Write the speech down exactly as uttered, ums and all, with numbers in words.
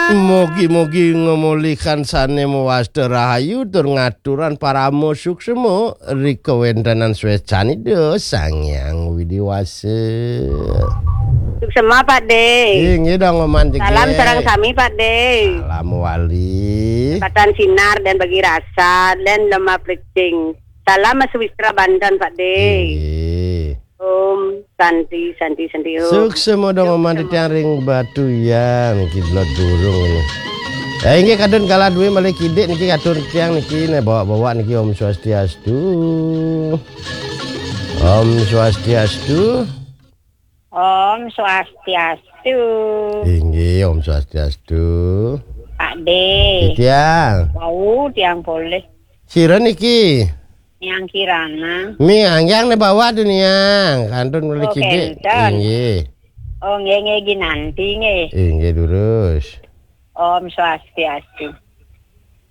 Mugi-mugi ngemulihkan sané mawasta rahayu tur ngaturan parama suksma ri kawéntenan swécanida Sang Hyang Widi Wasa. Suksma, Pak De. Inggih, dong, Oman Jegég. Salam sareng sami, Pak De. Salam wali. Patan sinar dan bagi rasa dan lemah plecing. Salam Mas Wistra Banten, Pak De. Inggih. Om Santi, Santi, Santi, Om. Suksma dong, Om, Oman titiang ring Batuyan, kidlat burung ini. Ya, inggih, kadun kala duwe malih kidik niki, kadun tiang niki, né bawa-bawa niki. Om Swastiastu. Om Swastiastu. Om Swastiastu. Inggih, Om Swastiastu. Pak De. Tiang. Wau tiang polih. Sira niki? Niang Kirana. Niang, yang né bawa tuh, Niang. Kantun mulai. Oh, kidik. Kenten. Inggih. Oh, nggih, nggih, ginanti, nggih. Inggih, durus. Om Swastiastu.